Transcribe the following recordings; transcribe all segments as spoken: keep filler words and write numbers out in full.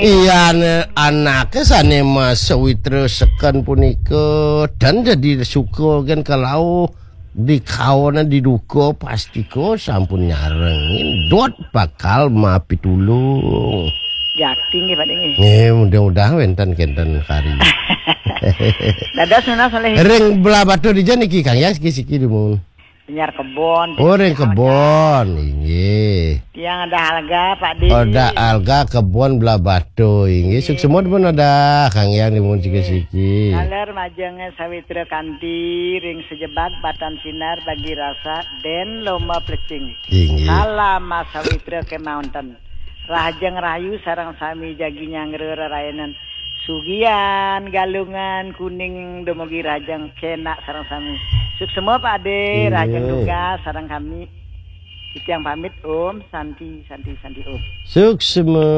Iya, ne, anake sane Mas Sawitra seken punika dan jadi suka kan kalau di kawana diduka pastika sampun nyarengin dot bakal mapitulung. Jakti nggih, Pak Dé, nggih. Nggih, mudah-mudahan wenten kenten kari. Dados nunas oleh Ring Blabatu dija niki, Kang, ya, siki-siki dumun. Nyar kebon. Oh, ring kebon, inggih. Yang ada alga, Pak Dé. Ada alga kebon Blabatu, inggih. Suksema pun ada, Kang, yang dumun siki-siki. Taler majeng Sawitra Kanti, ring sejebat batan sinar bagi rasa den lomba plecing. Inggih. Salam Mas Sawitra kemaonten. Rahajeng rahayu sareng sami jagi nyanggra rerayanan. Sugian, Galungan, Kuning, dumugi rahajeng kenak sareng sami. Suksema Pak Dé, inggih. Rahajeng tugas sareng kami. Titiang pamit, Om Santi, Santi, Santi, Om. Suksema,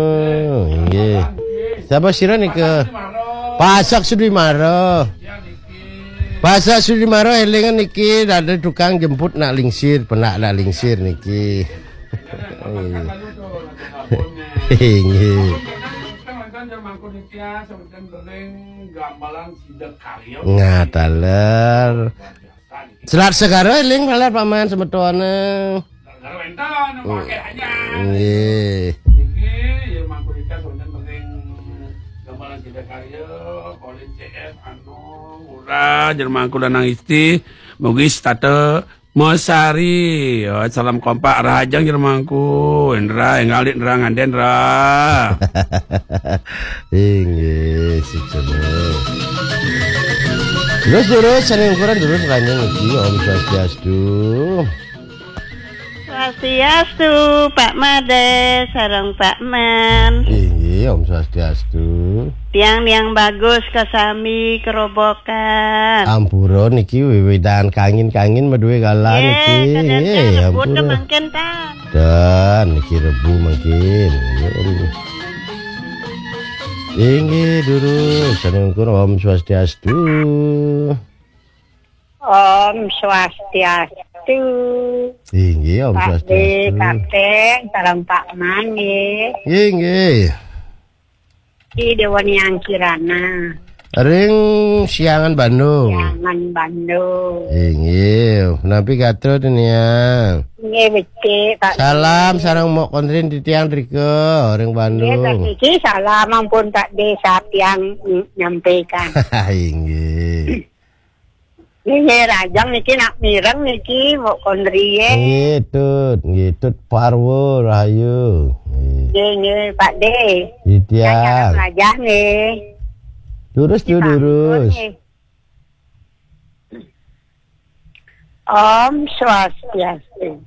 inggih. Sapa sira nika? Pasak Sudimara. Pasak Sudimara elingan niki ada tukang jemput nak lingsir, penak nak lingsir niki. Inggih. Ngataler. Selat Segara eling malah paman semetone. Nggih. Niki ya mangku kita semeton penting gambaran kita karya, Kolin C F, Anu, Ura, Jermangku Lanang Isti, mugi setata Mesari. Oh, salam kompak rahajeng Jermangku. Indra, enggal Indra nganden, Indra. Inggih, sukses. Terus, terus, saling ukuran terus, ranjang niki. Om Swastiastu. Swastiastu, Pak Made, sareng Pak Man. Inggih, Om Swastiastu. Tiang-tiang bagus kasami kerobokan. Ampura niki wiwidan kangin-kangin madué galah niki. Nggih, kadang-kadang nggih, rebut ampura. Mangkin tan. Dan niki rebu mangkin. Nggih, Om. Inggih, durus. Saning Om Swastiastu. Om Swastiastu. Inggih, Om Pak Dé, Swastiastu. Kapten, sareng Pak Man, nggih. Inggih. Di Dewa Niang Kirana. Ring Siangan, Bandung. Siangan, Bandung. Inggih, napi gatra tiniang? Nggih, becik, Pak. Salam sareng Mok Kontrin titiang drika ring Bandung. Nggih, Pak Kiki, salam ampun Pak Dé, satiang nyampaikan. Inggih. Nggih, nggih, rahajeng niki nak mireng niki, Mbok Kondrie. Nggih, Tut. Nggih, Tut Parwa, rahayu. Nggih. Nggih, nggih, Pak Dé. Titiang. Saya ngarep lajah, nggih. Durus, nggih, Tut, durus. Nggih. Om Swastiastu.